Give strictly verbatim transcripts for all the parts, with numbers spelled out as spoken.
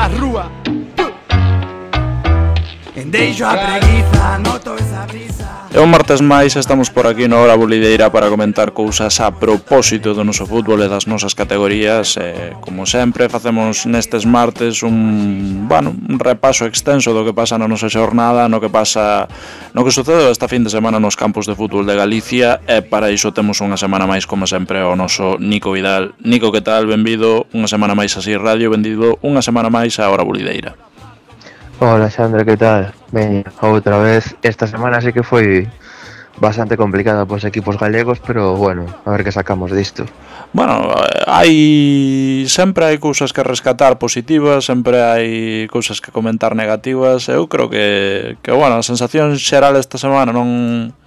a rúa. Deixo a preguiza, noto esa brisa. E un martes máis estamos por aquí na Hora Bolideira para comentar cousas a propósito do noso fútbol e das nosas categorías. E, como sempre, facemos nestes martes un, bueno, un repaso extenso do que pasa na nosa xornada, no que pasa, no que sucede esta fin de semana nos campos de fútbol de Galicia. E para iso temos unha semana máis, como sempre, o noso Nico Vidal. Nico, que tal? Benvido unha semana máis así radio, benvido unha semana máis a Hora Bolideira. Hola Xandra, que tal? Ben, outra vez, esta semana sí que foi bastante complicada pos equipos galegos, pero bueno, a ver que sacamos disto. Bueno, hai sempre hai cousas que rescatar positivas, sempre hai cousas que comentar negativas. Eu creo que, que bueno, a sensación xeral esta semana non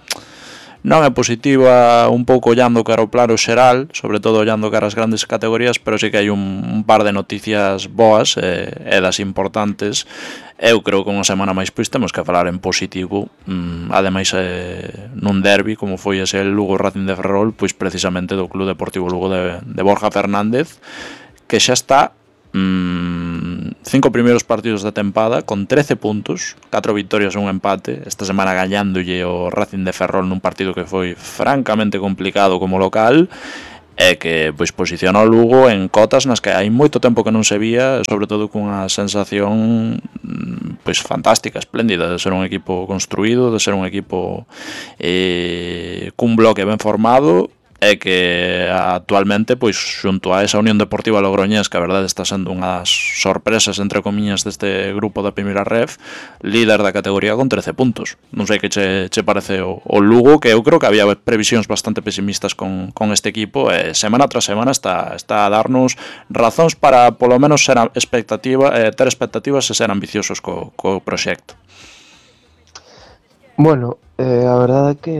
non é positiva, un pouco ollando cara ao plano xeral, sobre todo ollando cara as grandes categorías, pero sí que hai un, un par de noticias boas e, e das importantes. Eu creo que unha semana máis pois temos que falar en positivo, mm, ademais eh, nun derbi como foi ese Lugo Racing de Ferrol, pois precisamente do Club Deportivo Lugo de, de Borja Fernández, que xa está mm, cinco primeiros partidos da tempada con trece puntos, catro vitorias e un empate, esta semana gañándolle o Racing de Ferrol nun partido que foi francamente complicado como local, e que pois posiciona o Lugo en cotas nas que hai moito tempo que non se vía, sobre todo cunha sensación pois fantástica, espléndida, de ser un equipo construído, de ser un equipo eh, cun bloque ben formado, e que actualmente, pois xunto a esa Unión Deportiva Logroñés, que a verdade está sendo unhas sorpresas entre comiñas deste grupo da primeira ref, líder da categoría con trece puntos. Non sei que che, che parece o, o Lugo, que eu creo que había previsións bastante pesimistas con, con este equipo, e semana tras semana está, está a darnos razóns para polo menos ser expectativa, eh, ter expectativas e ser ambiciosos co, co proxecto. Bueno, eh, a verdade é que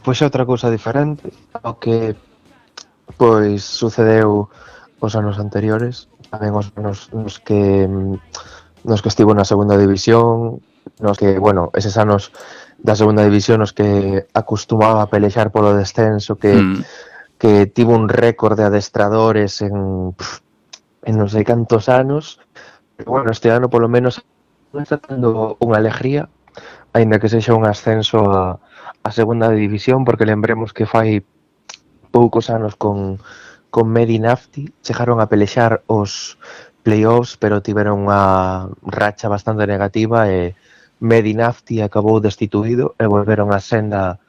pois é outra cousa diferente ao que pois sucedeu os anos anteriores, tamén os anos nos que nos que estivo na segunda división, nos que, bueno, eses anos da segunda división nos que acostumaba a pelexar polo descenso, que mm. que tivo un récord de adestradores en en non sei cantos anos, pero bueno, este ano polo menos está tendo unha alegría, aínda que sexa un ascenso a, a segunda división, porque lembremos que fai poucos anos con, con Medinafti chegaron a pelexar os playoffs, pero tiveron unha racha bastante negativa e Medinafti acabou destituído e volveron a senda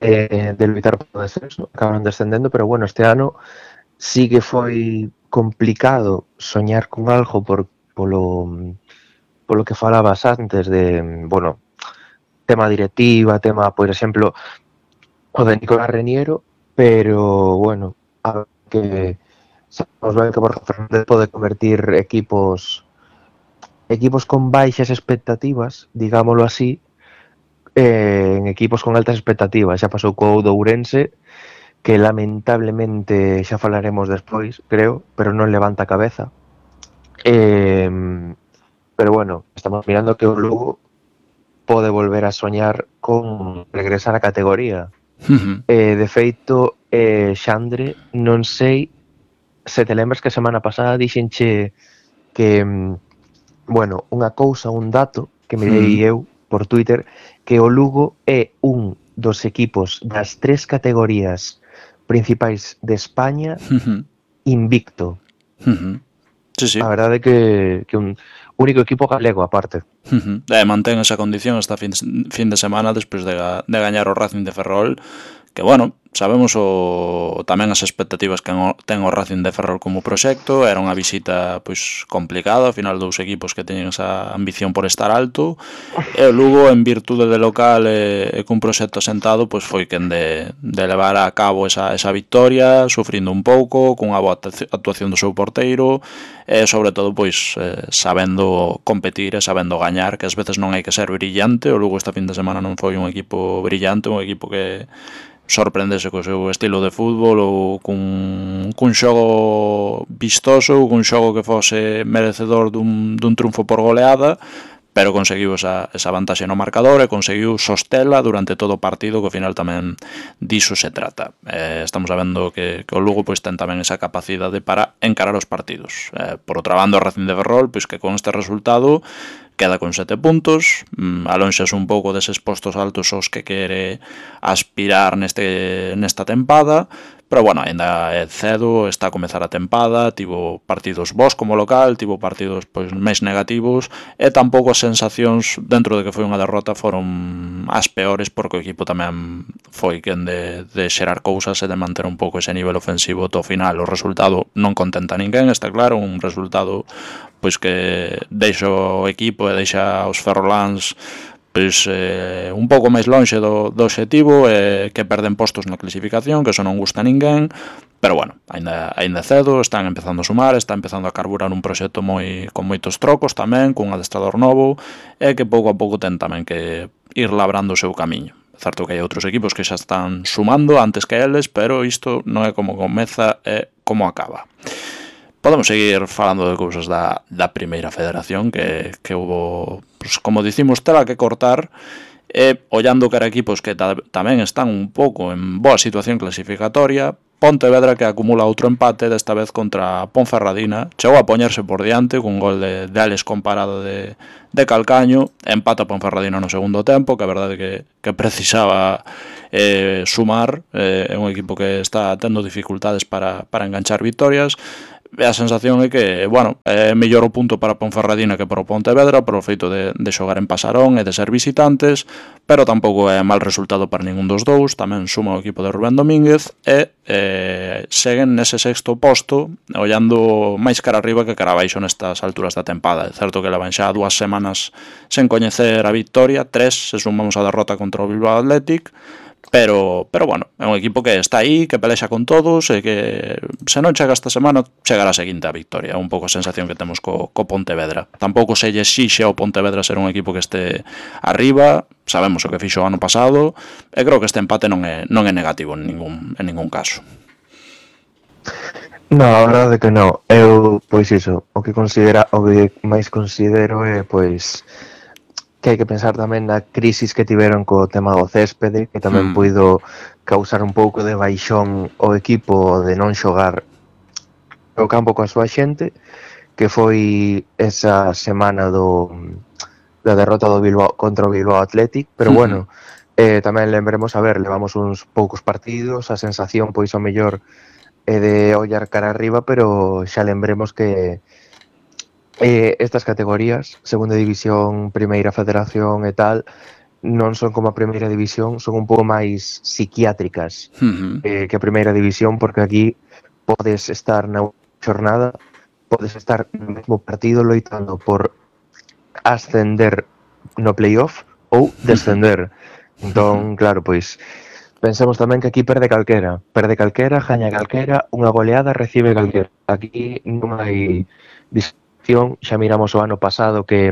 eh, de lutar por o descenso, acabaron descendendo, pero bueno, este ano sí que foi complicado soñar con algo por, polo... polo que falabas antes de, bueno, tema directiva, tema, por exemplo, o de Nicolás Reniero, pero, bueno, a ver que sabemos ben que Borja Fernández pode convertir equipos equipos con baixas expectativas, digámoslo así, eh, en equipos con altas expectativas. Xa pasou co Ourense, que lamentablemente xa falaremos despois, creo, pero non levanta a cabeza. Eh... Pero bueno, estamos mirando que o Lugo pode volver a soñar con regresar á categoría. Uh-huh. Eh, de feito, eh, Xandre, non sei se te lembras que a semana pasada dixenche que, bueno, unha cousa, un dato que mirei uh-huh. eu por Twitter, que o Lugo é un dos equipos das tres categorías principais de España uh-huh. invicto. Uh-huh. Sí, sí. A verdade é que, que un único equipo galego aparte. Uh-huh. E mantén esa condición esta fin, fin de semana despois de, de gañar o Racing de Ferrol, que bueno, sabemos o tamén as expectativas que ten o Racing de Ferrol como proxecto. Era unha visita pois complicada, ao final dous equipos que teñen esa ambición por estar alto, e o Lugo, en virtude de local e, e cun proxecto asentado, pois foi quen de, de levar a cabo esa, esa victoria, sufrindo un pouco, cunha boa actuación do seu porteiro, e sobre todo pois eh, sabendo competir e sabendo gañar, que ás veces non hai que ser brillante. O Lugo esta fin de semana non foi un equipo brillante, un equipo que sorprendese co seu estilo de fútbol ou cun, cun xogo vistoso ou cun xogo que fose merecedor dun, dun triunfo por goleada, pero conseguiu esa, esa vantaxe no marcador e conseguiu sostela durante todo o partido, que ao final tamén diso se trata. Eh, estamos vendo que, que o Lugo pois ten tamén esa capacidade para encarar os partidos. Eh, por outra banda, o Racing de Ferrol, pois que con este resultado queda con sete puntos, alonxas un pouco deses postos altos aos que quere aspirar neste nesta tempada, pero bueno, ainda é cedo, está a comezar a tempada, tivo partidos bons como local, tivo partidos pois máis negativos, e tampouco as sensacións dentro de que foi unha derrota foron as peores, porque o equipo tamén foi quen de, de xerar cousas e de manter un pouco ese nivel ofensivo to final. O resultado non contenta a ninguén, está claro, un resultado pois que deixa o equipo e deixa os ferroláns pois eh, un pouco máis lonxe do, do obxectivo, e eh, que perden postos na clasificación, que eso non gusta a ninguén, pero bueno, aínda aínda cedo, están empezando a sumar, está empezando a carburar un proxecto moi con moitos trocos tamén, cun adestrador novo, e que pouco a pouco ten tamén que ir labrando o seu camiño. É certo que hai outros equipos que xa están sumando antes que eles, pero isto non é como comeza, é como acaba. Podemos seguir falando de cousas da, da primeira federación, que, que hubo, pues, como dicimos, tela que cortar, e ollando cara equipos que ta, tamén están un pouco en boa situación clasificatoria. Pontevedra, que acumula outro empate, desta vez contra Ponferradina, chegou a poñerse por diante cun gol de, de Alex comparado de, de Calcaño, empata Ponferradina no segundo tempo, que a verdade que, que precisaba eh, sumar, é eh, un equipo que está tendo dificultades para, para enganchar victorias. E a sensación é que, bueno, é mellor o punto para Ponferradina que para o Pontevedra, por o feito de, de xogar en Pasarón e de ser visitantes, pero tampouco é mal resultado para ningún dos dous. Tamén suma o equipo de Rubén Domínguez e eh, seguen nese sexto posto, ollando máis cara arriba que cara abaixo nestas alturas da tempada. É certo que levan xa dúas semanas sen coñecer a victoria, tres se sumamos a derrota contra o Bilbao Athletic, Pero, pero bueno, é un equipo que está aí, que pelexa con todos, e que se non chega esta semana, chegará a seguinte a victoria. É un pouco a sensación que temos co, co Pontevedra. Tampouco se lle exixe ao Pontevedra ser un equipo que este arriba, sabemos o que fixo o ano pasado, e creo que este empate non é, non é negativo en ningún, en ningún caso. No, a verdade que non. Eu, pois iso, o que considera, o que máis considero é, pois, que hai que pensar tamén na crisis que tiveron co tema do céspede, que tamén hmm. puido causar un pouco de baixón o equipo de non xogar o campo coa súa xente, que foi esa semana do da derrota do Bilbao contra o Bilbao Athletic, pero hmm. bueno, eh, tamén lembremos, a ver, levamos uns poucos partidos, a sensación pois ao mellor é de ollar cara arriba, pero xa lembremos que Eh, estas categorías, segunda división, primeira federación e tal, non son como a primeira división, son un pouco máis psiquiátricas uh-huh. eh, que a primeira división, porque aquí podes estar na xornada, podes estar no mesmo partido loitando por ascender no playoff ou descender. Uh-huh. Entón, claro, pois pensemos tamén que aquí perde calquera, perde calquera, gaña calquera, unha goleada recibe calquera. Aquí non hai xa miramos o ano pasado que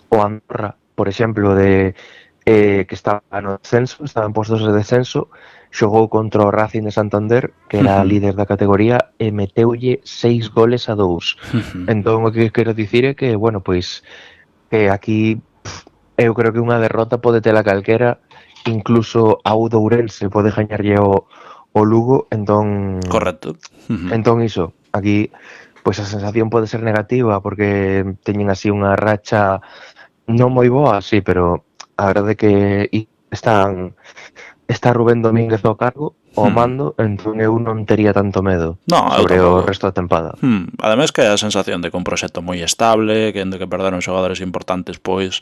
o Andorra, por exemplo, de eh, que estaba no descenso, estaba en postos de descenso, xogou contra o Racing de Santander, que era uh-huh. líder da categoría, e meteulle seis goles a dous. Uh-huh. Entón, o que quero dicir é que, bueno, pois, que aquí pff, eu creo que unha derrota pode tela calquera, incluso a o Ourense pode gañarlle o, o Lugo, entón... Correcto. Uh-huh. Entón, iso, aquí... pois a sensación pode ser negativa porque teñen así unha racha non moi boa, sí, pero a verdade que están está Rubén Domínguez ao cargo, ao mando, hmm. entón eu non tería tanto medo no, sobre o resto da tempada. Hmm. Ademais que a sensación de que un proxecto moi estable, que de que perderon xogadores importantes, pois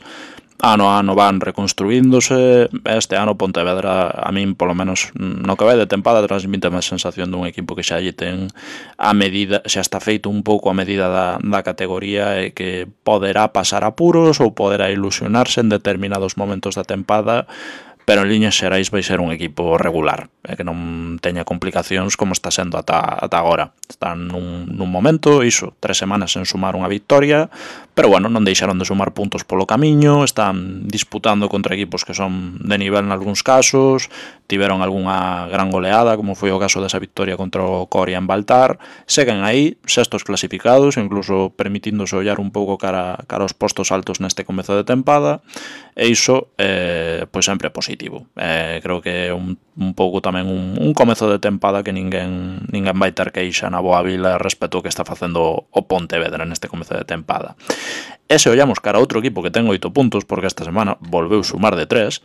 ano a ano van reconstruíndose. Este ano Pontevedra, a min polo menos no que vai de tempada, transmite a sensación dun equipo que xa lle ten a medida, xa está feito un pouco a medida da, da categoría, e que poderá pasar apuros ou poderá ilusionarse en determinados momentos da tempada, pero en liñas xerais vai ser un equipo regular, e que non teña complicacións como está sendo ata, ata agora. Están nun, nun momento, iso, tres semanas en sumar unha victoria, pero bueno, non deixaron de sumar puntos polo camiño, están disputando contra equipos que son de nivel en algúns casos, tiveron algunha gran goleada, como foi o caso desa victoria contra o Coria en Baltar, seguen aí, sextos clasificados, incluso permitíndose ollar un pouco cara, cara aos postos altos neste comezo de tempada, e iso, eh, pois sempre é positivo. Eh, creo que é un, un pouco tamén un, un comezo de tempada que ninguén, ninguén vai ter queixa na boa vila respecto ao que está facendo o Pontevedra neste comezo de tempada. E se ollamos cara a outro equipo que ten oito puntos, porque esta semana volveu sumar de tres,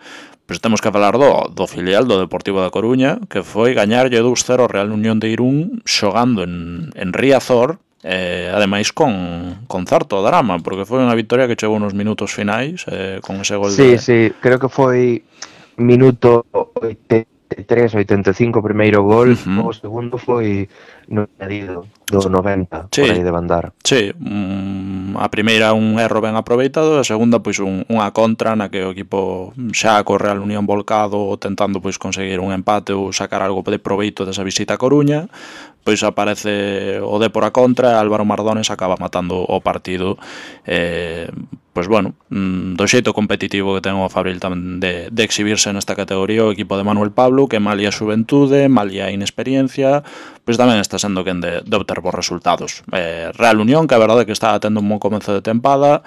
pois temos que falar do, do filial do Deportivo da Coruña, que foi gañarlle dous cero ao Real Unión de Irún xogando en, en Riazor, eh, ademais con, con certo drama, porque foi unha victoria que chegou nos minutos finais, eh, con ese gol sí, de... Sí, creo que foi minuto oitenta e tres, oitenta e cinco o primeiro gol, uh-huh. O segundo foi no añadido do noventa, sí, por aí de bandar. Sí, um, a primeira un erro ben aproveitado, a segunda pois un, unha contra na que o equipo xa co Real Unión volcado tentando pois conseguir un empate ou sacar algo de proveito desa visita a Coruña, pois aparece o Dépor a contra e Álvaro Mardones acaba matando o partido, eh, pois bueno, do xeito competitivo que ten o Fabril tamén de, de exhibirse nesta categoría o equipo de Manuel Pablo, que malia a xuventude, malia a inexperiencia, pois tamén está sendo quen de, de obter bons resultados. Eh, Real Unión, que a verdade que está tendo un bon comezo de tempada,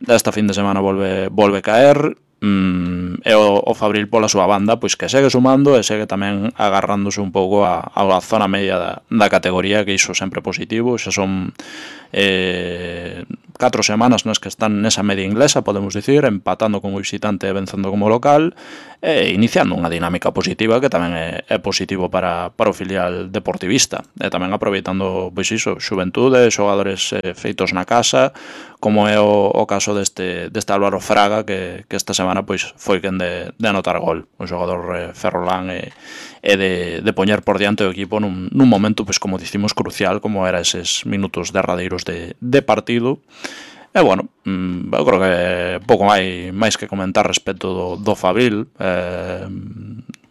esta fin de semana volve, volve caer, mm, e o, o Fabril pola súa banda, pois que segue sumando e segue tamén agarrándose un pouco a, a zona media da, da categoría, que iso sempre positivo, xa son eh, catro semanas nas que están nesa media inglesa, podemos dicir, empatando como visitante e vencendo como local, e iniciando unha dinámica positiva que tamén é, é positivo para, para o filial deportivista, e tamén aproveitando, pois iso, xuventude, xogadores eh, feitos na casa, como é o, o caso deste, deste Álvaro Fraga, que, que esta semana pois foi quen de, de anotar gol, o xogador eh, ferrolán e, e de, de poñer por diante o equipo nun, nun momento, pois como dicimos, crucial, como era eses minutos derradeiros de, de partido. E, bueno, eu creo que pouco máis, máis que comentar respecto do, do Fabril, eh,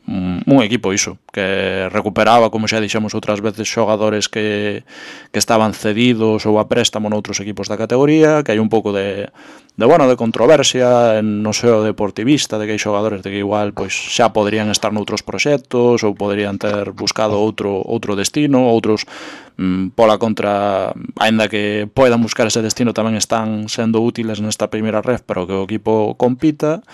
un equipo iso, que recuperaba, como xa dixemos outras veces, xogadores que, que estaban cedidos ou a préstamo noutros equipos da categoría, que hai un pouco de, de bueno, de controversia en no seo deportivista, de que hai xogadores de que igual pois xa poderían estar noutros proxectos ou poderían ter buscado outro outro destino, outros mm, pola contra, aínda que poidan buscar ese destino, tamén están sendo útiles nesta primeira ref para que o equipo compita.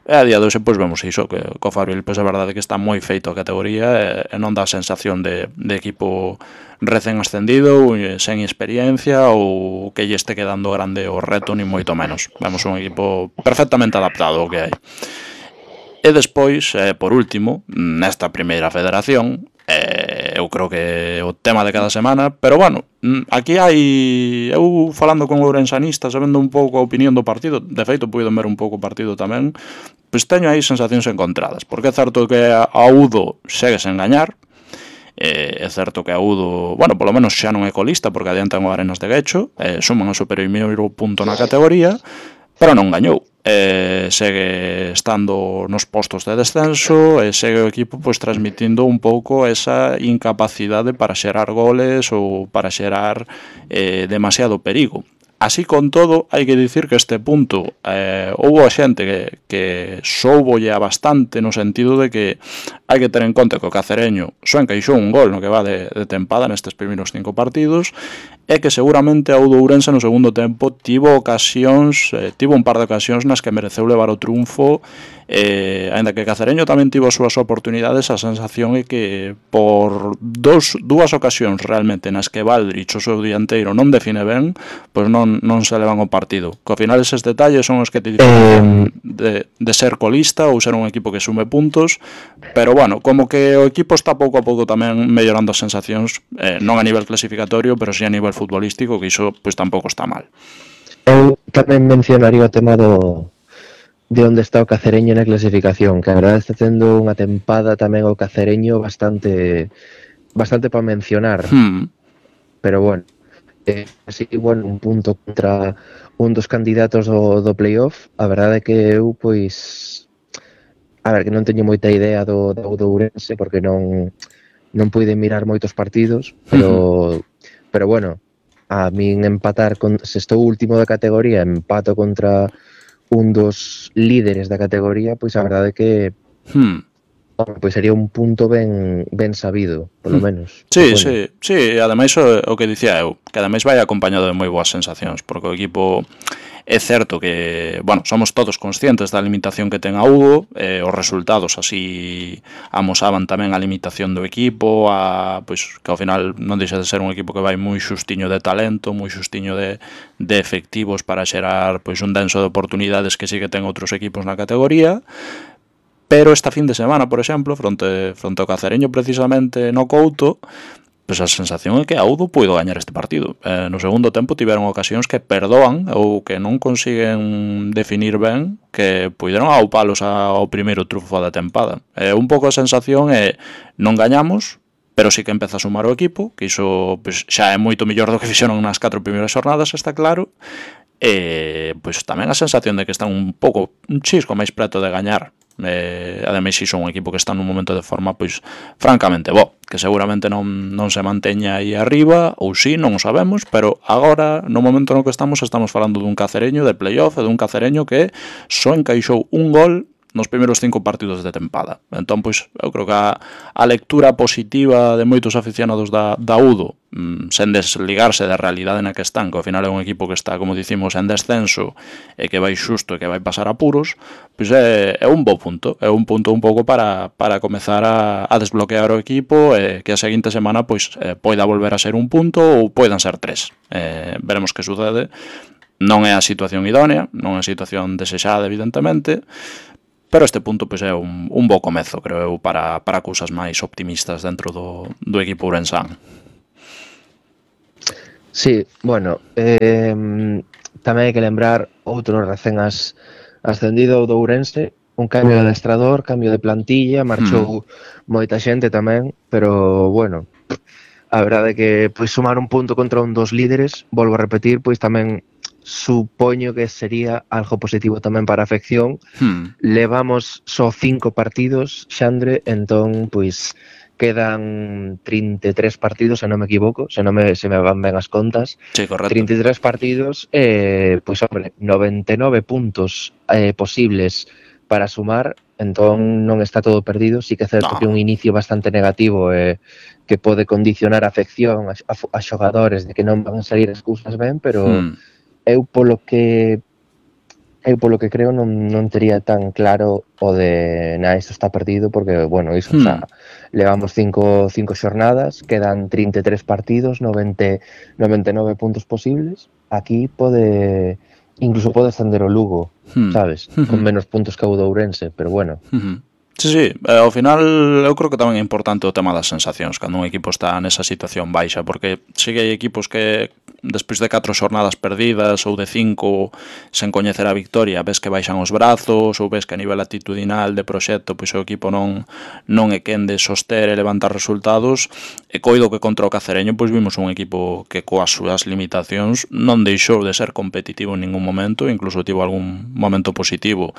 E a día de hoxe, pois vemos iso, que co Fabril, pois a verdade que está moi feito a categoría e, e non dá a sensación de, de equipo recén ascendido, sen experiencia ou que lle este quedando grande o reto, ni moito menos. Vemos un equipo perfectamente adaptado ao que hai. E despois, eh, por último, nesta primeira federación, eh, eu creo que o tema de cada semana, pero bueno, aquí hai, eu falando con ourensanistas, sabendo un pouco a opinión do partido, de feito puido ver un pouco o partido tamén, pois teño aí sensacións encontradas, porque é certo que a Udo segue sen gañar, eh, é certo que a Udo, bueno, polo menos xa non é colista, porque adiantan o Arenas de Guecho, eh, suman o superior punto na categoría, pero non gañou. Eh, segue estando nos postos de descenso e segue o equipo pois transmitindo un pouco esa incapacidade para xerar goles ou para xerar eh, demasiado perigo. Así con todo, hai que dicir que este punto eh, houve a xente que, que soubolle a bastante no sentido de que hai que ter en conta que o Cacereño só encaixou un gol no que va de, de tempada nestes primeiros cinco partidos e que seguramente a Udo Ourense no segundo tempo tivo ocasións, eh, tivo un par de ocasións nas que mereceu levar o triunfo, eh, ainda que Cacereño tamén tivo as súas oportunidades, a sensación é que por dos, dúas ocasións realmente nas que Valdrich, o seu dianteiro, non define ben, pois non, non se levan o partido. Que ao final eses detalles son os que te diferencian de, de ser colista ou ser un equipo que sume puntos, pero bueno, como que o equipo está pouco a pouco tamén mellorando as sensacións, eh, non a nivel clasificatorio, pero si a nivel futbolístico, que iso pois tampouco está mal. Eu tamén mencionaría o tema do de onde está o Cacereño na clasificación, que a verdade está tendo unha tempada tamén o Cacereño bastante bastante para mencionar. Hmm. Pero bueno, eh, así, bueno, un punto contra un dos candidatos do, do playoff, a verdade é que eu, pois, a ver, que non teño moita idea do, do, do Ourense, porque non non puiden mirar moitos partidos, pero, uh-huh. pero bueno, a min empatar con, se estou último da categoría, empato contra un dos líderes da categoría, pois a verdade é que Hmm. pois sería un punto ben ben sabido, polo menos. Sí, supoño. sí, sí, ademais o, o que dicía eu, que ademais vai acompañado de moi boas sensacións, porque o equipo é certo que, bueno, somos todos conscientes da limitación que ten a Udo, eh, os resultados así amosaban tamén a limitación do equipo, a, pois, que ao final non deixa de ser un equipo que vai moi xustiño de talento, moi xustiño de, de efectivos para xerar pois un denso de oportunidades que sí que ten outros equipos na categoría. Pero esta fin de semana, por exemplo, fronte, fronte ao Cacereño precisamente no Couto, pois a sensación é que a Udo puido gañar este partido. Eh, no segundo tempo tiveron ocasións que perdoan ou que non consiguen definir ben, que puideron aupalos ao primeiro trufo da tempada. Eh, un pouco a sensación é non gañamos, pero sí que empeza a sumar o equipo, que iso pois, xa é moito mellor do que fixeron nas catro primeiras xornadas, está claro. E pois tamén a sensación de que están un pouco un chisco máis preto de gañar. Eh, ademais si son un equipo que está nun momento de forma pois francamente bo, que seguramente non, non se manteña aí arriba ou si, non o sabemos, pero agora no momento no que estamos estamos falando dun Cacereño de playoff e dun Cacereño que só encaixou un gol nos primeiros cinco partidos de tempada. Entón, pois, eu creo que a, a lectura positiva de moitos aficionados da, da Udo, mmm, sen desligarse da realidade na que están, que ao final é un equipo que está, como dicimos, en descenso e que vai xusto e que vai pasar apuros, pois é, é un bo punto, é un punto un pouco para, para comezar a, a desbloquear o equipo e que a seguinte semana pois eh, poida volver a ser un punto ou poidan ser tres. Eh, veremos que sucede. Non é a situación idónea, non é a situación desexada, evidentemente, pero este punto pois, é un, un bo comezo, creo eu, para, para cousas máis optimistas dentro do, do equipo ourensán. Sí, bueno, eh, tamén hai que lembrar outro recén as, ascendido do Ourense, un cambio de adestrador, cambio de plantilla, marchou hmm. moita xente tamén, pero bueno, a verdade é que pois sumar un punto contra un dos líderes, volvo a repetir, pois tamén supoño que sería algo positivo tamén para a afección. Hmm. Levamos só cinco partidos, Xandre, entón, pois, quedan trinta e tres partidos, se non me equivoco, se non me, se me van ben as contas. Sí, correcto. trinta e tres partidos, eh, pois, hombre, noventa e nove puntos eh, posibles para sumar, entón non está todo perdido. Sí que é certo no. que un inicio bastante negativo eh, que pode condicionar a afección a, a, a xogadores de que non van a salir as cousas ben, pero... Hmm. Eu polo que eu polo que creo non, non tería tan claro o de na, isto está perdido, porque, bueno, iso, hmm. o sea, levamos cinco, cinco xornadas, quedan trinta e tres partidos, noventa, noventa e nove puntos posibles, aquí pode, incluso pode ascender o Lugo, hmm. sabes, hmm. con menos puntos que o do Ourense, pero bueno. Hmm. Sí, sí, eh, ao final eu creo que tamén é importante o tema das sensacións cando un equipo está nesa situación baixa, porque si que hai equipos que despois de catro xornadas perdidas ou de cinco sen coñecer a victoria ves que baixan os brazos ou ves que a nivel atitudinal de proxecto pois o equipo non non é quen de soster e levantar resultados, e coido que contra o Cacereño pois vimos un equipo que coas súas limitacións non deixou de ser competitivo en ningún momento, incluso tivo algún momento positivo.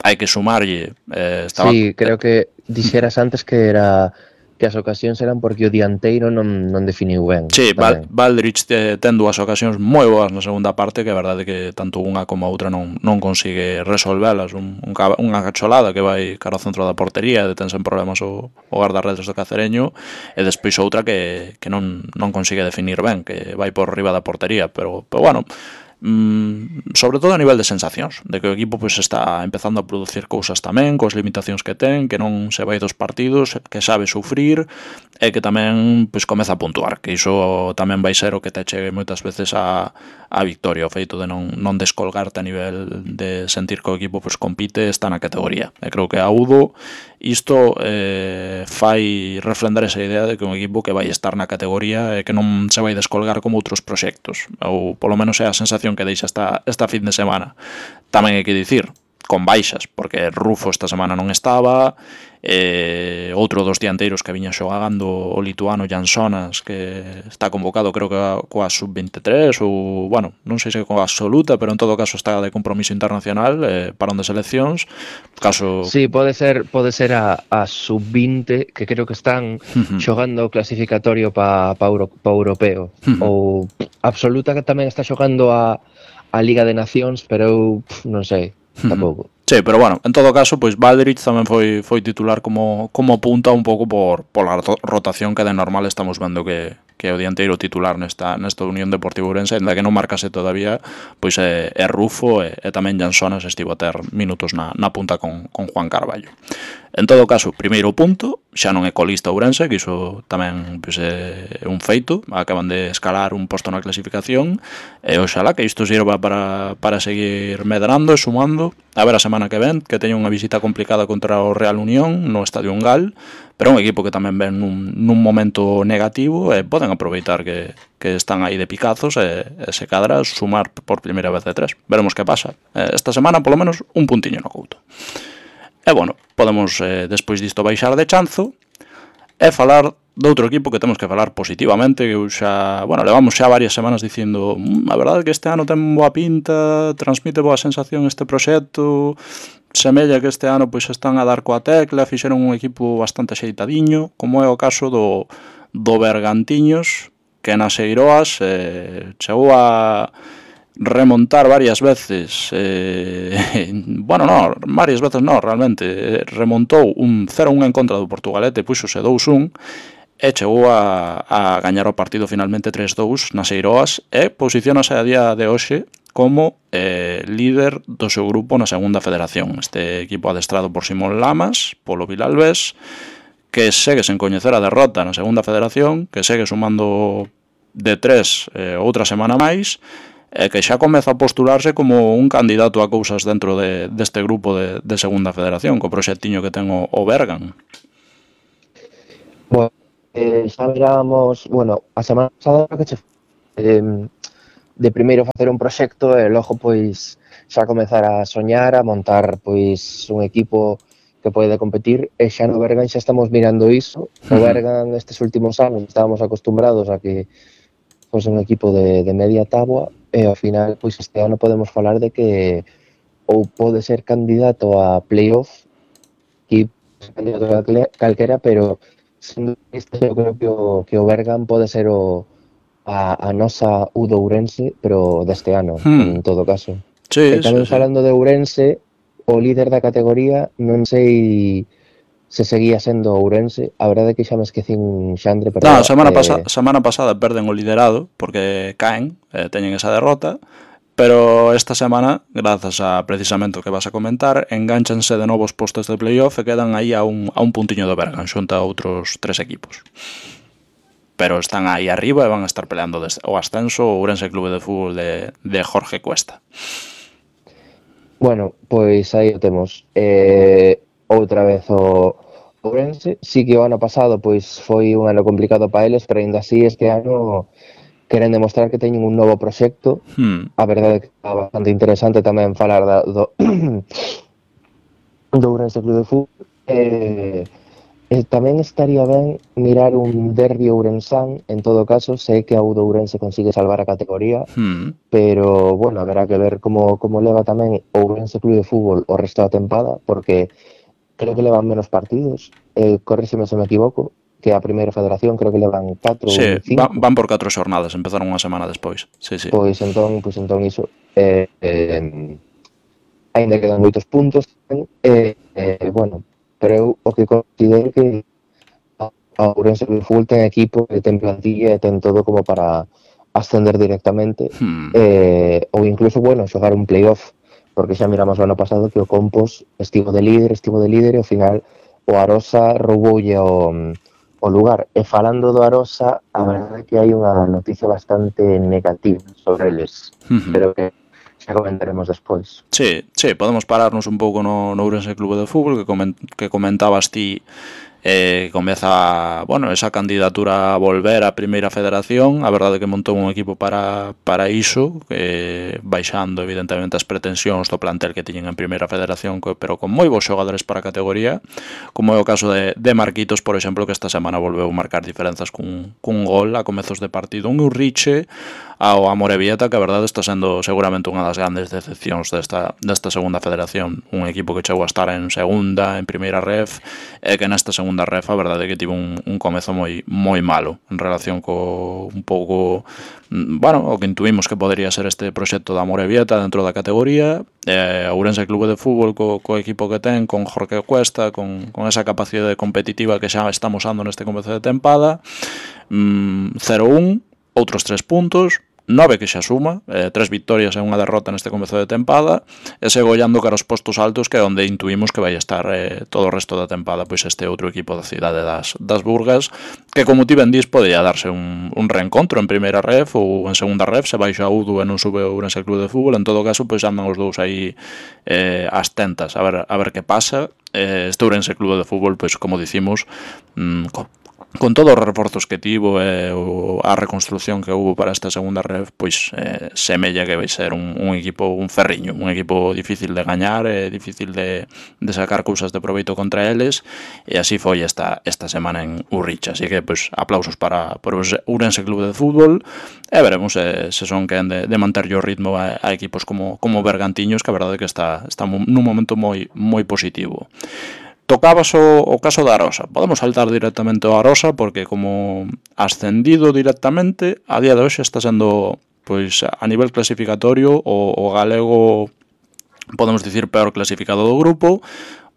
Hai que sumarlle eh, estaba... Sí, creo que dixeras antes que era que as ocasións eran porque o dianteiro non, non definiu ben. Sí, Val, Valdrich ten dúas ocasións moi boas na segunda parte, que é verdade que tanto unha como a outra non, non consigue resolvelas. Un, un, unha cacholada que vai cara ao centro da portería, detense en problemas o, o guardarredes do Cacereño, e despois outra que, que non, non consigue definir ben, que vai por riba da portería, pero, pero bueno... Mm, sobre todo a nivel de sensacións, de que o equipo pois está empezando a producir cousas tamén coas limitacións que ten, que non se vai dos partidos, que sabe sufrir e que tamén pois comeza a puntuar, que iso tamén vai ser o que te chegue moitas veces a, a victoria, o feito de non, non descolgarte a nivel de sentir que o equipo pois compite, está na categoría. E creo que a Udo isto eh, fai refrendar esa idea de que un equipo que vai estar na categoría e que non se vai descolgar como outros proxectos, ou polo menos é a sensación que deixa esta, esta fin de semana. Tamén hai que dicir con baixas, porque Rufo esta semana non estaba, eh, outro dos dianteiros que viña xogando o lituano Jansonas, que está convocado creo que coa sub veintitrés ou, bueno, non sei se coa absoluta, pero en todo caso está de compromiso internacional, eh, para onde seleccións, caso... Sí, pode ser pode ser a, a sub vinte, que creo que están Uh-huh. xogando o clasificatorio pa, pa, Euro, pa europeo. Uh-huh. Ou absoluta que tamén está xogando a, a Liga de Nacións, pero eu pff, non sei, tampouco. Sí, pero bueno, en todo caso, pois Valdrich tamén foi foi titular como como punta un pouco por pola rotación que de normal estamos vendo que que é o dianteiro titular nesta nesta Unión Deportiva Ourense, ainda que non marcase todavía, pois é, é Rufo e, e tamén Jansonas estivo a ter minutos na, na punta con, con Juan Carballo. En todo caso, primeiro punto, xa non é colista Ourense, que iso tamén pois, é un feito, acaban de escalar un posto na clasificación, e oxalá que isto sirva para, para seguir medrando e sumando, a ver a semana que ven, que teña unha visita complicada contra o Real Unión no Estadio Ungal, pero un equipo que tamén ven nun, nun momento negativo e poden aproveitar que, que están aí de picazos e, e se cadra sumar por primeira vez de tres. Veremos que pasa. Esta semana, polo menos, un puntiño no Couto. E, bueno, podemos, eh, despois disto, baixar de chanzo e falar de outro equipo que temos que falar positivamente, que eu xa, bueno, levamos xa varias semanas dicindo mmm, a verdade é que este ano ten boa pinta, transmite boa sensación este proxecto, semella que este ano pois están a dar coa tecla, fixeron un equipo bastante axeitadiño, como é o caso do, do Bergantiños, que nas Eiroas eh, chegou a remontar varias veces, eh, bueno, no, varias veces no, realmente, remontou un cero a un en contra do Portugalete, puxose dous un, e chegou a, a gañar o partido finalmente tres dous nas Eiroas, e posicionase a día de hoxe como eh, líder do seu grupo na segunda federación. Este equipo adestrado por Simón Lamas, polo Vilalbés, que segue sen coñecer a derrota na segunda federación, que segue sumando de tres eh, outra semana máis, e que xa comeza a postularse como un candidato a cousas dentro de, deste grupo de, de segunda federación, co proxectiño que ten o, o Bergan. Bueno, eh, xa mirábamos, bueno, a semana pasada que che eh, de primeiro facer un proxecto e logo pois xa comezar a soñar, a montar pois un equipo que pode competir, e xa no Bergan xa estamos mirando iso. O Bergan estes últimos anos estábamos acostumbrados a que fosse un equipo de, de media táboa, e ao final pois este ano podemos falar de que ou pode ser candidato a playoff, que candidato a calquera, pero sendo este, eu creo que o, que o Bergan pode ser o A, a nosa U de Ourense, pero deste ano, hmm. en todo caso. Sí, e tamén sí, falando sí. de Ourense, o líder da categoría, non sei se seguía sendo Ourense, a verdade é que xa me esquecín Xandre, pero... No, semana, eh... pasa, semana pasada perden o liderado, porque caen, eh, teñen esa derrota, pero esta semana, grazas a precisamente o que vas a comentar, enganchanse de novos postos de playoff e quedan aí a un, a un puntiño do Bergan, xunta a outros tres equipos. Pero están aí arriba e van a estar peleando o ascenso o Ourense Clube de Fútbol de, de Jorge Cuesta. Bueno, pois aí o temos. Eh, outra vez o Ourense. Sí que o ano pasado pois foi un ano complicado para eles, pero ainda así este ano queren demostrar que teñen un novo proxecto. Hmm. A verdade é que é bastante interesante tamén falar da, do, do Ourense Clube de Fútbol. Eh, E tamén estaría ben mirar un derbi ourensán, en todo caso, sei que a U de Ourense consigue salvar a categoría, hmm. pero, bueno, haberá que ver como, como leva tamén o Ourense Clube de Fútbol o resto da tempada, porque creo que levan menos partidos, eh, corríxeme se me equivoco, que a primeira federación creo que levan catro ou sí, cinco. Van, van por catro xornadas, empezaron unha semana despois. Sí, sí. Pois entón, pois entón iso, eh, eh, ainda quedan moitos puntos, eh, eh, bueno, pero eu o que considero que a Ourense Clube de Fútbol ten equipo, ten plantilla e ten todo como para ascender directamente, hmm. eh, ou incluso, bueno, xogar un playoff, porque xa miramos o ano pasado que o Compos estivo de líder, estivo de líder e ao final o Arosa rouboulle o, o lugar. E falando do Arosa, a verdade é que hai unha noticia bastante negativa sobre eles, uh-huh. pero que xa comentaremos despois. Sí, sí, podemos pararnos un pouco no, no Ourense Clube de Fútbol que, coment, que comentabas ti eh, comeza, bueno, esa candidatura a volver á Primeira Federación. A verdade que montou un equipo para, para iso, eh, baixando evidentemente as pretensións do plantel que tiñen en Primeira Federación, pero con moi bons xogadores para a categoría, como é o caso de, de Marquitos, por exemplo, que esta semana volveu marcar diferenzas cun, cun gol a comezos de partido. Un Urriche ao Amorebieta, que a verdade está sendo seguramente unha das grandes decepcións desta, desta segunda federación. Un equipo que chegou a estar en segunda, en primeira ref, e que nesta segunda ref a verdade é que tivo un, un comezo moi moi malo en relación co un pouco, bueno, o que intuímos que podería ser este proxecto da Amorebieta dentro da categoría. Eh, Ourense Clube de Fútbol co, co equipo que ten, con Jorge Cuesta, con, con esa capacidade competitiva que xa estamos usando neste comezo de tempada. mm, cero un, outros tres puntos, nove que xa suma, eh, tres victorias e unha derrota neste comezo de tempada, e segue ollando cara aos postos altos, que é onde intuímos que vai estar eh, todo o resto da tempada, pois este outro equipo da cidade das, das Burgas, que como ti ben dis, podía darse un, un reencontro en primeira ref ou en segunda ref, se baixa a Udo e non sube o Ourense Clube de Fútbol. En todo caso, pois andan os dous aí eh, ás tentas, a ver, a ver que pasa. Eh, este Ourense Clube de Fútbol, pois como dicimos, mm, co con todos os reforzos que tivo e eh, a reconstrucción que hubo para esta segunda ref, pois eh, semella que vai ser un, un equipo, un ferriño, un equipo difícil de gañar, eh, difícil de, de sacar cousas de proveito contra eles, e así foi esta, esta semana en Urricha. Así que, pois, aplausos para, para o Ourense Clube de Fútbol, e veremos eh, se son quen de, de manter o ritmo a, a equipos como, como Bergantiños, que a verdade é que está, está nun momento moi, moi positivo. Tocabas o, o caso da Arosa. Podemos saltar directamente ao Arosa, porque como ascendido directamente, a día de hoxe está sendo, pois, a nivel clasificatorio, o, o galego, podemos dicir, peor clasificado do grupo.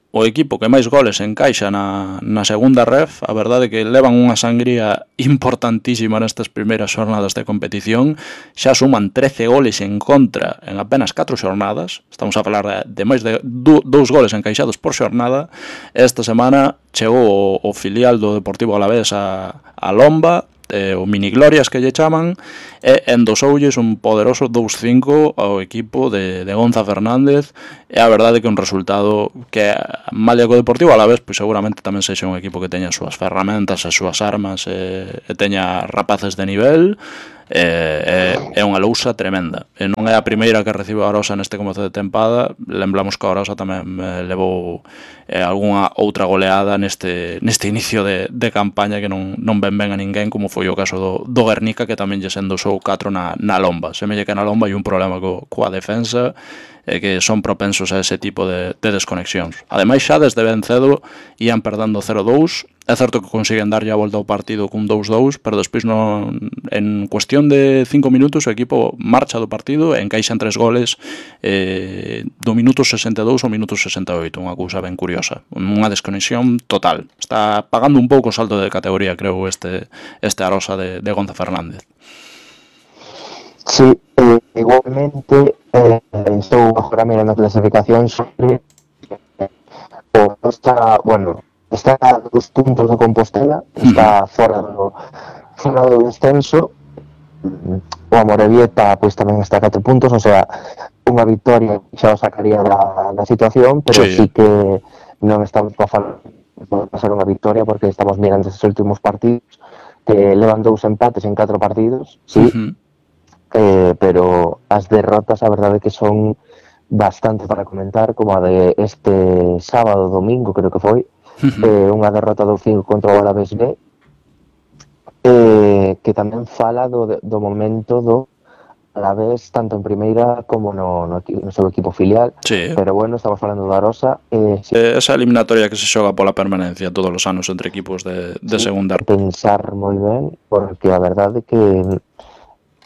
O equipo que máis goles encaixa na, na segunda ref, a verdade é que levan unha sangría importantísima nestas primeiras xornadas de competición. Xa suman trece goles en contra en apenas catro xornadas. Estamos a falar de, de máis de dous goles encaixados por xornada. Esta semana chegou o, o filial do Deportivo Alavés a, a Lomba, eh, o Mini Glorias que lle chaman, e endosoulles un poderoso dous cinco ao equipo de, de Gonza Fernández. E a verdade que un resultado que, malia co Deportivo a la vez, pois seguramente tamén sexa un equipo que teña as súas ferramentas, as súas armas, e, e teña rapaces de nivel. É, é, é unha lousa tremenda, e non é a primeira que recibe a Arosa neste comezo de tempada. Lembramos que a Arosa tamén eh, levou eh, algunha outra goleada neste, neste inicio de, de campaña que non, non ven ben a ninguén, como foi o caso do, do Guernica, que tamén lle sendosou catro na, na Lomba. Semella que na Lomba hai un problema co, coa defensa, e que son propensos a ese tipo de, de desconexións. Ademais, xa desde ben cedo ian perdendo cero dous. É certo que consiguen darlle a volta ao partido cun dous dous, pero despois non, en cuestión de cinco minutos o equipo marcha do partido e encaixan tres goles eh, do minuto sesenta e dous ao minuto sesenta e oito. Unha cousa ben curiosa, unha desconexión total. Está pagando un pouco o salto de categoría, creo, este, este Arosa de, de Gonza Fernández. Sí, eh, igualmente eh, estou agora mirando a clasificación sobre o está, bueno, está a dos puntos de Compostela, está fora do fora do descenso. O Amorebieta pois tamén está a catro puntos, o sea, unha victoria xa o sacaría da, da situación, pero sí, sí que non estamos a falar de pasar unha victoria, porque estamos mirando estes últimos partidos que levan dous empates en catro partidos, sí. Uh-huh. Eh, pero as derrotas a verdade que son bastante para comentar, como a de este sábado, domingo creo que foi, uh-huh. eh, unha derrota do cinco contra o Alavés B, eh, que tamén fala do, do momento do Alavés tanto en primeira como no, no, no seu equipo filial, sí. Pero bueno, estamos falando da Arosa. Eh, sí. eh, esa eliminatoria que se xoga pola permanencia todos os anos entre equipos de, de sí, segunda. Pensar moi ben, porque a verdade que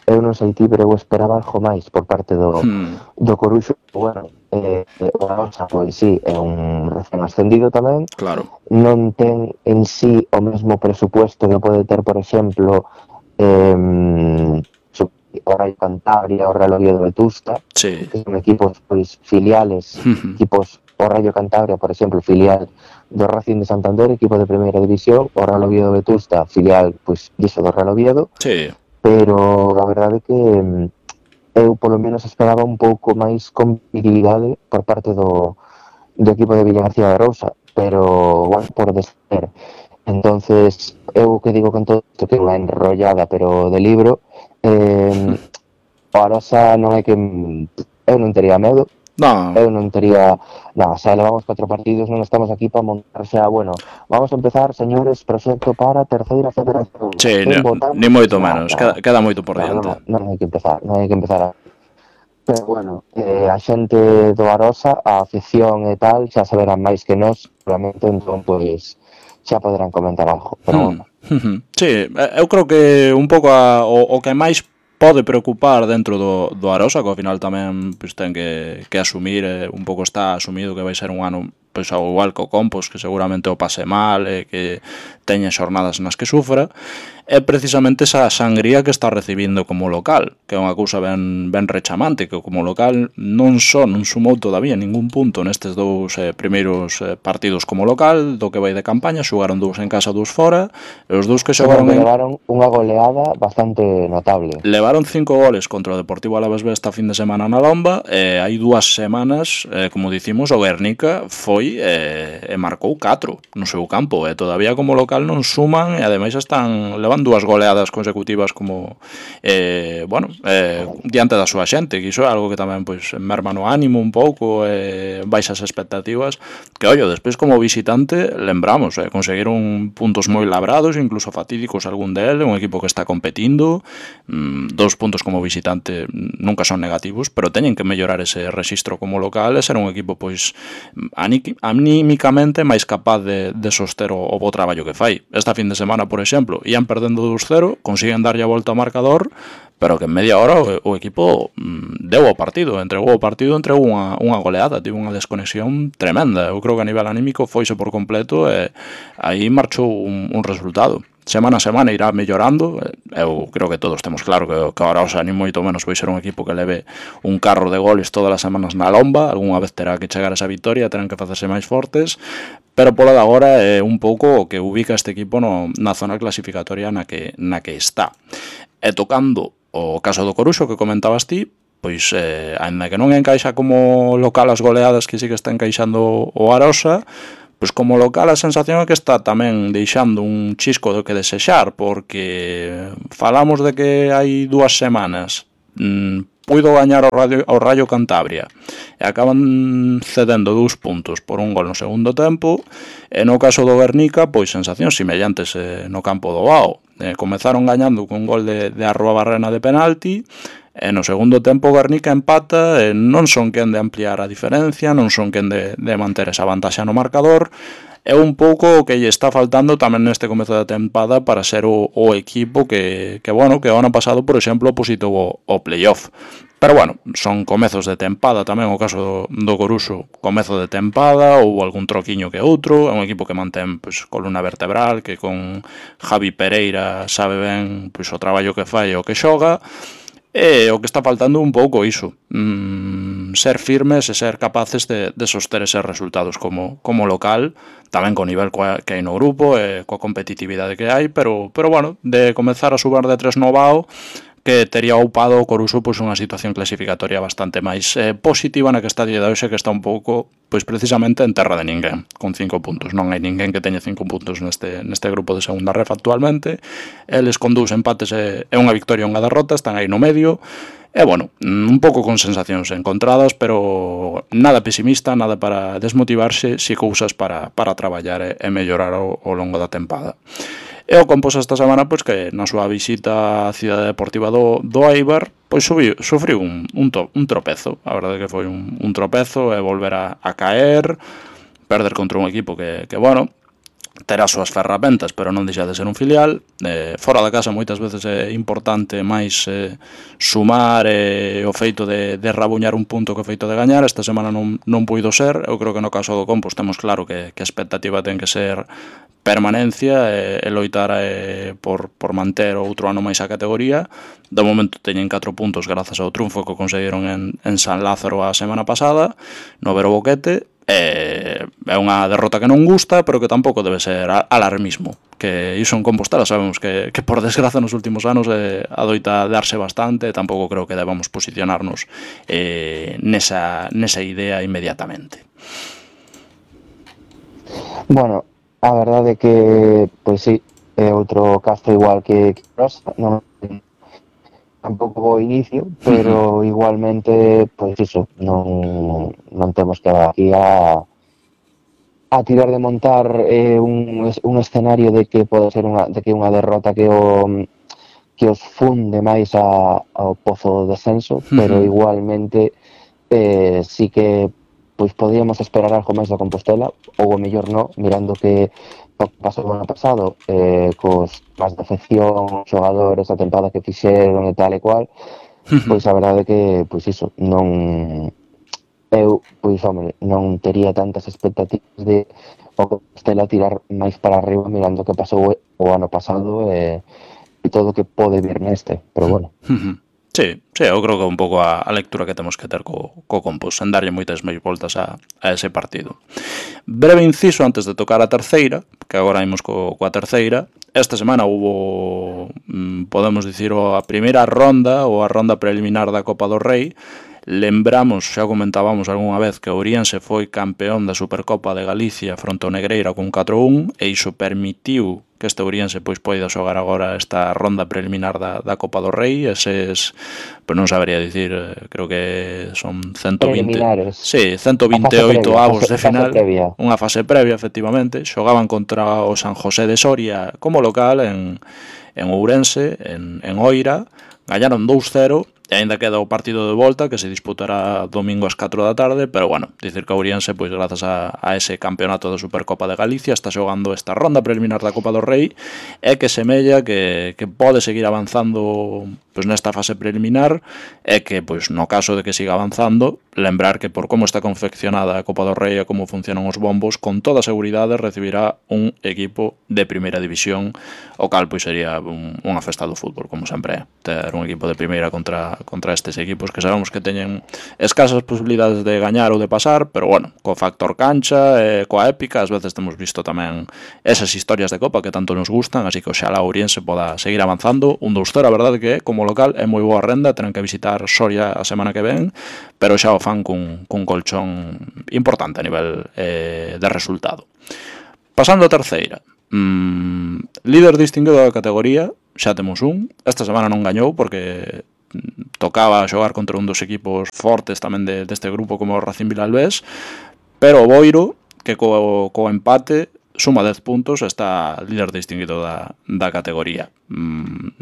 eu non sei ti, pero eu esperaba algo máis por parte do, hmm. do Coruxo. Bueno, eh, o Arosa, pois sí, é un recén ascendido tamén. Claro. Non ten en sí o mesmo presupuesto que pode ter, por exemplo, eh, o Rayo Cantabria, o Real Oviedo Vetusta, sí. Que son equipos pois filiales, uh-huh. Equipos, o Rayo Cantabria, por exemplo, filial do Racing de Santander, equipo de primeira división, o Real Oviedo Vetusta, filial, pois, diso do Real Oviedo. Sí. Pero a verdade é que eu polo menos esperaba un pouco máis competitividade por parte do, do equipo de Villagarcía de Arousa, pero, bueno, por descer. Entonces, eu que digo con todo isto que é unha enrollada, pero de libro, eh, o Arosa non é que eu non tería medo, Non, eu non tería nada, xa levamos catro partidos, non estamos aquí para montar xa, bueno, vamos a empezar, señores, proxecto para terceira federación, sí, quen ni, votamos? ni moito Nada, menos, nada, queda, queda moito por nada, non, diante. non hai que empezar, non hai que empezar a... Pero bueno, eh, a xente do Arosa, a afición e tal, xa saberán máis que nós, seguramente, entón, pois, xa poderán comentar algo, pero bueno. Hmm. Sí, eu creo que un pouco a, o, o que máis pode preocupar dentro do, do Arosa, que ao final tamén pues, ten que, que asumir, eh, un pouco está asumido que vai ser un ano pois, ao igual co Compos, que seguramente o pase mal e que teña xornadas nas que sufra, é precisamente esa sangría que está recibindo como local, que é unha cousa ben, ben rechamante, que como local non só non sumou todavía ningún punto nestes dous eh, primeiros eh, partidos como local, do que vai de campaña, xogaron dous en casa, dous fora, e os dous que xogaron en... levaron unha goleada bastante notable. Levaron cinco goles contra o Deportivo Alavés B esta fin de semana na Lomba, e hai dúas semanas, eh, como dicimos, o Guernica foi e, e marcou catro no seu campo, e todavía como local non suman, e ademais están levan dúas goleadas consecutivas como eh, bueno, eh, diante da súa xente, que iso é algo que tamén pois merma no ánimo un pouco, eh, baixas expectativas, que ollo, despois como visitante lembramos, eh, conseguiron puntos moi labrados, incluso fatídicos algún del, un equipo que está competindo, mm, dos puntos como visitante nunca son negativos, pero teñen que mellorar ese rexistro como local e ser un equipo pois anímicamente máis capaz de, de soster o, o bo traballo que fai. Esta fin de semana, por exemplo, ian perdendo dos cero, consiguen darlle a volta ao marcador, pero que en media hora o, o equipo mm, deu o partido, entregou o partido, entregou unha, unha goleada, tivo unha desconexión tremenda. Eu creo que a nivel anímico foise por completo e aí marchou un, un resultado. Semana a semana irá mellorando, eu creo que todos temos claro que, que ahora, o sea, ni moito menos vai ser un equipo que leve un carro de goles todas as semanas na lomba, algunha vez terá que chegar a esa victoria, terán que facerse máis fortes, pero polo de agora é un pouco o que ubica este equipo no, na zona clasificatoria na que, na que está. E tocando o caso do Coruxo que comentabas ti, pois, eh, ainda que non encaixa como local as goleadas que sí que está encaixando o Arosa, pois como local a sensación é que está tamén deixando un chisco do que desexar, porque falamos de que hai dúas semanas mmm, puido gañar ao, radio, ao Rayo Cantabria e acaban cedendo dous puntos por un gol no segundo tempo, e no caso do Guernica, pois sensacións semellantes eh, no campo do Bao. Eh, comezaron gañando con un gol de, de Arroa Barrena de penalti, e no segundo tempo o Guernica empata, e non son quen de ampliar a diferencia, non son quen de, de manter esa vantaxa no marcador. É un pouco o que lle está faltando tamén neste comezo da tempada para ser o, o equipo que, que, bueno, que o ano pasado, por exemplo, opositou o, o playoff. Pero, bueno, son comezos de tempada tamén, o caso do, do Coruxo, comezo de tempada, ou algún troquiño que outro, é un equipo que mantén pois, columna vertebral, que con Javi Pereira sabe ben pois, o traballo que fai e o que xoga. E o que está faltando un pouco iso, mm, ser firmes e ser capaces de, de soster eses resultados como, como local, tamén co nivel que hai no grupo e coa competitividade que hai, pero, pero bueno, de comezar a subar de tres no Bao, que tería upado o Coruxo pois, unha situación clasificatoria bastante máis eh, positiva na que está de hoxe, que está un pouco pois precisamente en terra de ninguén, con cinco puntos. Non hai ninguén que teña cinco puntos neste, neste grupo de segunda ref actualmente. Eles con dous empates e, e unha victoria e unha derrota, están aí no medio. E, bueno, un pouco con sensacións encontradas, pero nada pesimista, nada para desmotivarse, si cousas para, para traballar e, e mellorar ao, ao longo da tempada. E o Compos esta semana, pois que na súa visita á cidade deportiva do, do Eibar, pois subiu, sufriu un, un, to, un tropezo. A verdade que foi un, un tropezo e volver a, a caer, perder contra un equipo que, que bueno, terá as súas ferramentas, pero non deixa de ser un filial. Eh, fora da casa moitas veces é importante máis eh, sumar eh, o feito de, de rabuñar un punto que o feito de gañar. Esta semana non, non puido ser. Eu creo que no caso do Compos temos claro que, que a expectativa ten que ser permanencia e, e loitar e, por, por manter outro ano máis a categoría. De momento teñen catro puntos grazas ao triunfo que conseguiron en, en San Lázaro a semana pasada no Vero Boquete. É, é unha derrota que non gusta, pero que tampouco debe ser alarmismo, que iso en Compostela sabemos que, que por desgraza nos últimos anos eh, adoita darse bastante, e tampouco creo que debamos posicionarnos eh, nesa, nesa idea inmediatamente. Bueno, a verdade é que, pois sí, é outro caso igual que, que Rosa, non tampouco bo inicio, pero igualmente, pois iso, non, non temos que aquí a, a tirar de montar eh, un, un escenario de que pode ser unha, de que unha derrota que o que os funde máis a, ao pozo do descenso, pero igualmente eh, sí que pois podíamos esperar algo máis da Compostela, ou o mellor no, mirando que o que pasou o ano pasado, eh, cos máis defección, xogadores, a tempada que fixeron e tal e cual, pois a verdade é que, pois iso, non, eu, pois, home, non tería tantas expectativas de o Compostela tirar máis para arriba mirando que pasou o ano pasado e, e todo o que pode vir neste, pero bueno. Sí, sí, eu creo que é un pouco a, a lectura que temos que ter co, co Compos, en darlle moitas máis voltas a, a ese partido. Breve inciso antes de tocar a terceira, que agora imos co, coa terceira. Esta semana hubo, podemos dicir, a primeira ronda ou a ronda preliminar da Copa do Rei. Lembramos, xa comentábamos algunha vez, que Ourense foi campeón da Supercopa de Galicia fronte ao Negreira con catro a un, e iso permitiu que este Ourense pois poida xogar agora esta ronda preliminar da, da Copa do Rei. Eses, pois non sabería dicir, creo que son ciento vinte, sí, ciento vinte e oito avos de final, unha fase previa, efectivamente. Xogaban contra o San José de Soria como local en, en Ourense, en, en Oira, gañaron dous cero. E aínda queda o partido de volta que se disputará domingo ás catro da tarde, pero bueno, dicir que Ourense, pois grazas a, a ese campeonato da Supercopa de Galicia, está xogando esta ronda preliminar da Copa do Rei, e que semella que, que pode seguir avanzando pois nesta fase preliminar, e que, pois no caso de que siga avanzando, lembrar que por como está confeccionada a Copa do Rei e como funcionan os bombos, con toda seguridade recibirá un equipo de primeira división, o cal pois sería un, unha festa do fútbol, como sempre é, ter un equipo de primeira contra contra estes equipos que sabemos que teñen escasas posibilidades de gañar ou de pasar, pero bueno, co factor cancha e coa épica, ás veces temos visto tamén esas historias de Copa que tanto nos gustan, así que oxalá Ourense poda seguir avanzando. Un dous cero, a verdade que como local é moi boa renda, tenen que visitar Soria a semana que ven, pero xa o fan cun, cun colchón importante a nivel eh, de resultado. Pasando a terceira, mm, líder distinguido da categoría, xa temos un, esta semana non gañou porque tocaba xogar contra un dos equipos fortes tamén de, deste grupo como o Racing Vilalbés, pero o Boiro, que co, co empate suma dez puntos, está líder distinguido da, da categoría.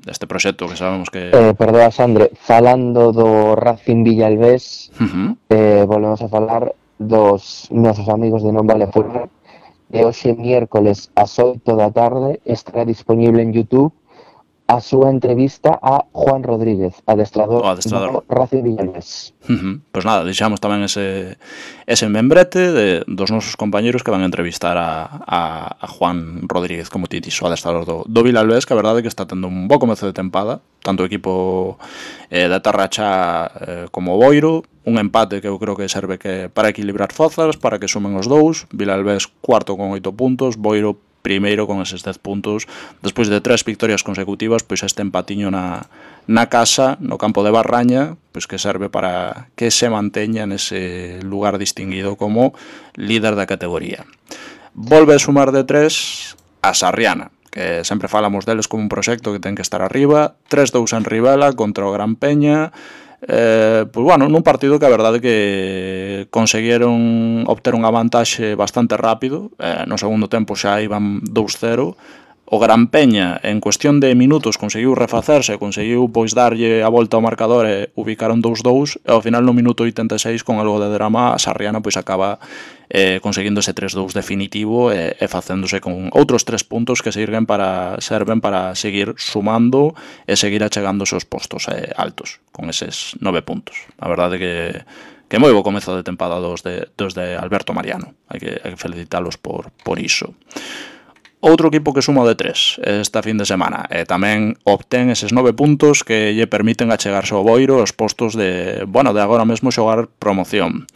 Este proxecto que sabemos que... Eh, perdoa, Sandre, falando do Racing Vilalbés, uh-huh. eh, volvemos a falar dos nosos amigos de Non Vale Fútbol, e hoxe miércoles ás oito da tarde estará disponible en YouTube a súa entrevista a Juan Rodríguez, adestrador, adestrador. do Racing Vilalbés. Uh-huh. Pois nada, deixamos tamén ese, ese membrete de, dos nosos compañeros que van a entrevistar a, a, a Juan Rodríguez, como ti dixo, adestrador do, do Vilalbés, que a verdade é que está tendo un bo comezo de tempada, tanto o equipo eh, de Tarracha eh, como o Boiro, un empate que eu creo que serve que para equilibrar fozas, para que sumen os dous. Vilalbés cuarto con oito puntos, Boiro primeiro con eses dez puntos, despois de tres victorias consecutivas, pois este empatiño na, na casa, no campo de Barraña, pois que serve para que se manteña nese lugar distinguido como líder da categoría. Volve a sumar de tres a Sarriana, que sempre falamos deles como un proxecto que ten que estar arriba, tres dous en Rivela contra o Gran Peña. Eh, pois bueno, nun partido que a verdade que conseguiron obter unha vantaxe bastante rápido, eh, no segundo tempo xa iban dous cero. O Gran Peña en cuestión de minutos conseguiu refacerse, conseguiu pois darlle a volta ao marcador e ubicaron dous dous, e ao final no minuto oitenta e seis con algo de drama a Sarriana pois acaba eh, conseguindo ese tres dous definitivo e, e facéndose con outros tres puntos que serven para, serven para seguir sumando e seguir achegándose aos postos eh, altos con eses nove puntos. A verdade que que moi bo comezo de tempada dos de, dos de Alberto Mariano, hai que, hai que felicitalos por, por iso. Outro equipo que suma de tres esta fin de semana e tamén obtén eses nove puntos que lle permiten achegarse ao Boiro aos postos de, bueno, de agora mesmo xogar promoción.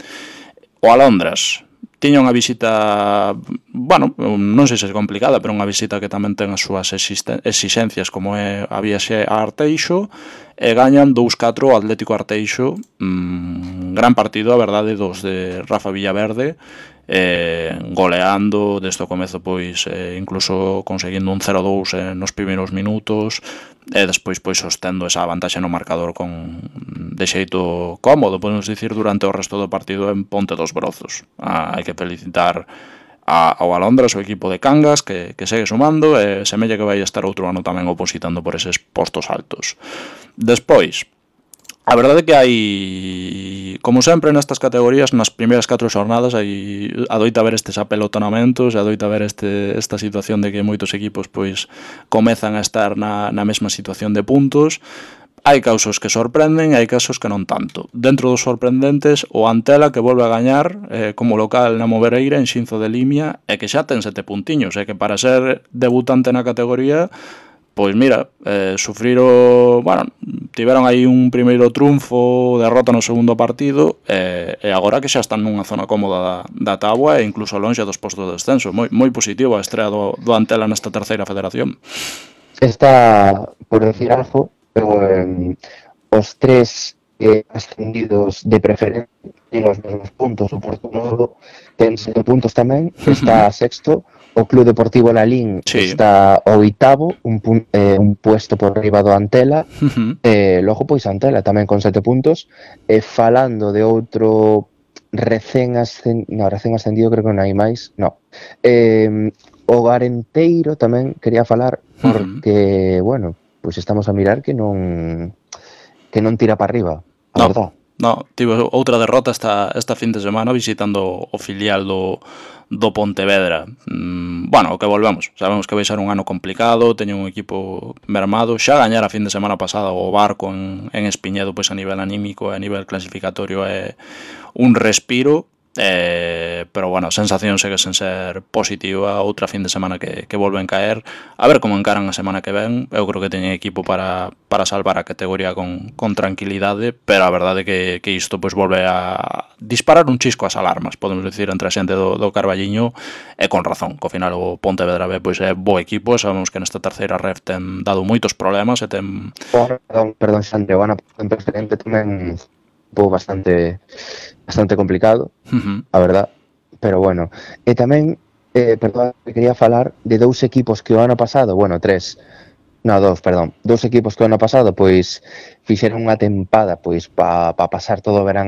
O Alondras tiña unha visita, bueno, non sei se é complicada, pero unha visita que tamén ten as súas exixencias, como é a viaxe a Arteixo, e gañan dous catro o Atlético Arteixo. Mm, gran partido, a verdade, dos de Rafa Villaverde, eh, goleando desde o comezo, pois eh, incluso conseguindo un cero dous eh, nos primeiros minutos, e despois pois sostendo esa vantaxe no marcador con de xeito cómodo, podemos dicir, durante o resto do partido en Ponte dos Brozos. Ah, hai que felicitar a, ao Alondras, o equipo de Cangas, que, que segue sumando, e semella que vai estar outro ano tamén opositando por eses postos altos. Despois, a verdade é que hai, como sempre nestas categorías, nas primeiras catro xornadas hai adoita haber estes apelotonamentos, adoita haber este, esta situación de que moitos equipos pois comezan a estar na, na mesma situación de puntos. Hai casos que sorprenden e hai casos que non tanto. Dentro dos sorprendentes, o Antela, que volve a gañar eh, como local na Movereira en Xinzo de Limia, e que xa ten sete puntiños, e que para ser debutante na categoría, pois mira, eh, sufriro, bueno, tiveron aí un primeiro triunfo, derrota no segundo partido, e, e agora que xa están nunha zona cómoda da, da táboa e incluso longe dos postos de descenso. Moi, moi positivo a estrea do, do Antela nesta terceira federación. Está, por decir algo, eh, os tres eh, ascendidos de preferencia tienen os mesmos puntos. O Porto Novo ten sete puntos tamén, está sexto. O Club Deportivo Lalín sí. Está oitavo, un, pun, eh, un puesto por riba do Antela. Uh-huh. eh, logo, pois, Antela tamén con sete puntos. E eh, falando de outro recén ascendido, no, recén ascendido creo que non hai máis, no. Eh, o Arenteiro tamén quería falar, porque, uh-huh. bueno, pois estamos a mirar que non que non tira para arriba, a no. verdad. No, tivo outra derrota esta, esta fin de semana visitando o filial do, do Pontevedra. Mm, bueno, o que volvemos, sabemos que vai ser un ano complicado, teñen un equipo mermado, xa gañar a fin de semana pasada o Barco en, en Espiñedo, pois a nivel anímico e a nivel clasificatorio é un respiro. Eh, pero bueno, a sensación segue sen ser positiva. Outra fin de semana que, que volven caer, a ver como encaran a semana que ven. Eu creo que teñen equipo para, para salvar a categoría con, con tranquilidade, pero a verdade é que, que isto pois volve a disparar un chisco as alarmas, podemos dicir, entre a xente do, do Carballiño, e con razón, que ao final o Pontevedra B pois é bo equipo. Sabemos que nesta terceira ref ten dado moitos problemas e ten... Perdón, perdón, Xandre, o ano en preferente tamén un bastante bastante complicado, uh-huh. a verdad, pero bueno, e tamén eh, perdón, quería falar de dous equipos que o ano pasado, bueno, tres no, dous, perdón, dous equipos que o ano pasado pois fixeron unha tempada pois para pa pasar todo o verán